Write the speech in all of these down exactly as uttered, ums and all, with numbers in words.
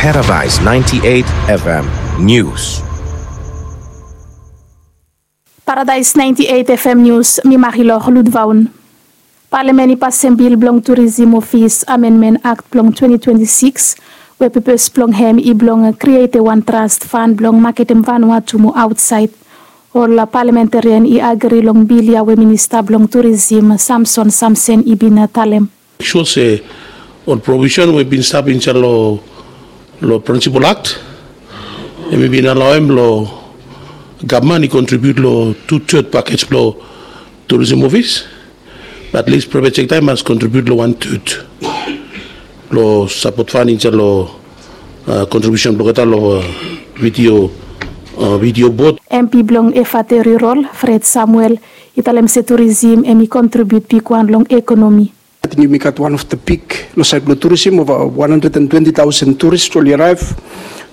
Paradise ninety-eight F M News. Paradise ninety-eight F M News, mi Marilor Ludvaun. Palamen i pasem bil blong Tourism Office Amendment Act blong twenty twenty-six, we pepes blong hem i blong krietem wan trust fan blong maketem Vanuatu mo aotsaed. Ol palamentarian i agri long bil ya we Minista blong Tourism Samson Samsen i bin talem. Make sure se ol provisen we bin stap insaed lo lo Principal Act, hem i bin alaoem lo gavman i kontribiut lo tu ted pakej blo Tourism Office. At least Prefect Jake Time i mas kontribiut lo wan ted lo sapot fan insaed lo kontribiusen blo olgeta lo video video bot. M P blong Efate Rural, Fred Samuel, i talem se tourism hem i kontribiut bigwan long ekonomi. Ating yumi gat wan of the big lo saed blo tourism, ova wan handred and twenti taosen turist oli araev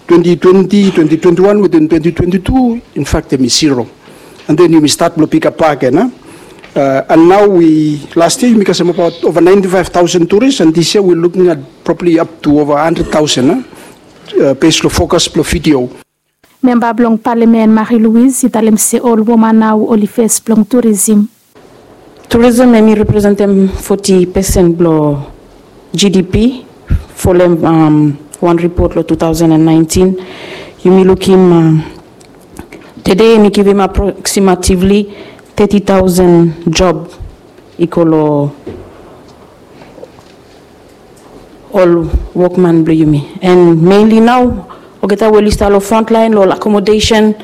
twenti twenti, twenti twenti wan, wetem twenti twenti tu, in fact hem i zero. And then yumi stat blo pikap bak agen. And nao wi, las yia yumi kasem abaot ova naenti faef taosen turist, and dis yia wi luking at probably up to ova handred taosen, bes lo fokas blo video. Memba blong palamen Marie Louise i talem se ol woman nao oli fes blong tourism. Tourism hem i representem foti pesen blo G D P, folem wan ripot lo two thousand and nineteen. Yumi lukim tede hem i givim approximatively thirty thousand job i go lo ol wokman blo yumi. And mainly nao olgeta we oli stap lo frontline, lo ol accommodation,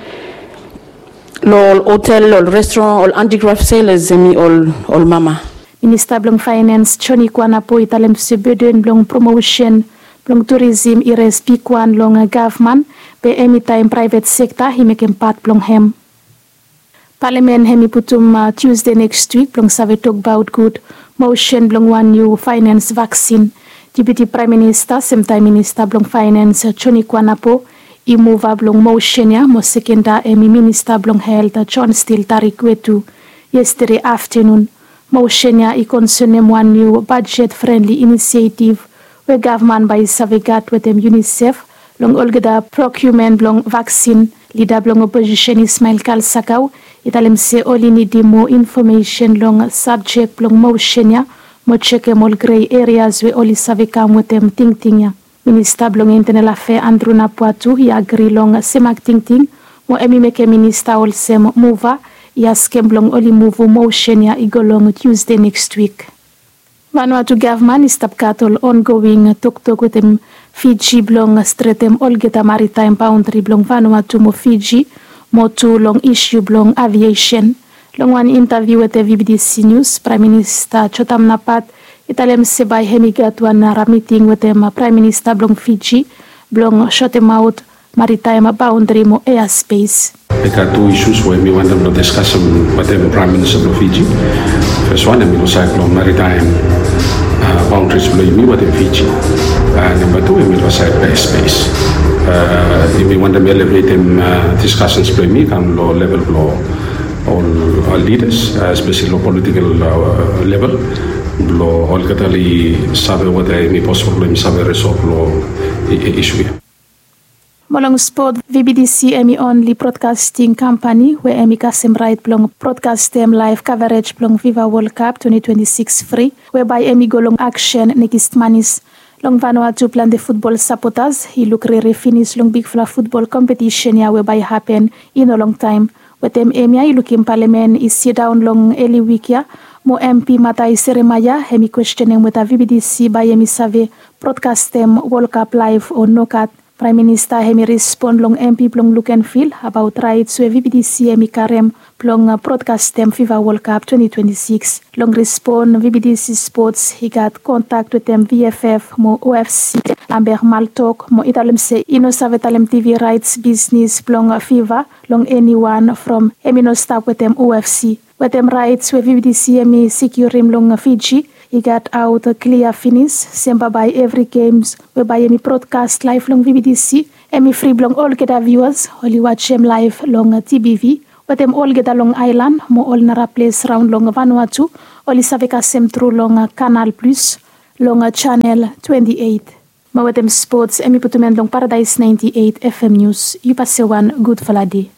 lo ol hotel, lo ol restaurant, ol handicraft sellers, hem i ol ol mama. Minista blong Finance Johnny Kwanapo i talem se burden blong promotion blong tourism i res bigwan long gavman, be eni taem private sector i mekem pat blong hem. Palamen hem i putum Tuesday next week blong save tokbaot gud motion blong wan niu finance vaksin. Deputy Prime Minister, semtaem Minista blong Finance Johnny Kwanapo, i muva blong motion ya mo sekenda hem i Minista blong Health John Steele Tariq Wetu yestede aftenun. Motion ya i konsenem wan niu budget friendly initiative we gavman bae i save gat wetem UNICEF long olgeta procurement blong vaksin. Lida blong oposisen Ismail Kalsakau i talem se oli nidim moa infomesen long sabjek blong motion ya mo jekem ol grei erias we oli save kam wetem tingting ya. Minista blong Internal Afea Andrew Napuatu i agri long semak tingting mo hem i mekem minista olsem muva i askem blong oli muvum motion ya i go long Tuesday next week. Vanuatu gavman i stap gat ol ongoing toktok wetem Fiji blong stretem olgeta maritaem baondri blong Vanuatu mo Fiji, mo tu long isu blong aviesen. Long wan intaviu wetem VBTC Nius, Praem Minista Jotam Napat i talem se bae hem i gat wan nara miting wetem Praem Minista blong Fiji blong sotemaot maritaem baondri mo ea spes. I gat tu isus we mi wantem blong diskasem wetem Praem Minista blong Fiji. Fes wan hem i lo saed blong maritaem baondris blong yumi wetem Fiji. Namba tu hem i lo saed blong ea spes. Yumi wantem elevetem diskasens blong yumi i kam lo level blong ol lidas, espeseli lo politikel level, blong olgeta oli save weta hem i posibol blong yumi save resolv lo isu ya. Mo long spot, VBTC hem i onli brodkasting kampani we hem i kasem raet blong brodkastem laev kaverej blong Fifa Wol Kap twenti twenti sikis fri, we bae hem i go long aksen nekis manis. Long Vanuatu plante futbol sapotas i luk rere finis long bigfala futbol kompetisen ya we bae i hapen i no longtaem. Wetem hemia i lukim palamen i sidaon long eli wik ya, mo MP Matai Seremaia hem i kwestenem weta VBTC bae hem i save brodkastem Wol Kap laev o nogat. Praem Minista hem i respon long MP blong Lukenvil abaot raets we VBTC hem i karem blong brodkastem Fifa Wol Kap twenti twenti sikis. Long respon, VBTC Spots i gat kontak wetem VFF mo OFC, Lambert Maltok, mo i talem se i no save talem TV raets bisnis blong Fifa long eniwan from hem i no stap wetem OFC. Wetem raets we VBTC hem i sekiurim long Fiji, i gat aot klia finis se bambae evri gems we bae hem i brodkas laev long VBTC hem i fri blong olgeta viuas oli wajem laev long TBV. Wetem olgeta long aelan mo ol nara ples raon long Vanuatu oli save kasem tru long Canal Plus long janel twenti eit. Mo wetem spots em i putum en long Paradais naenti eit F M Nius. Yu pase wan gudfala dei.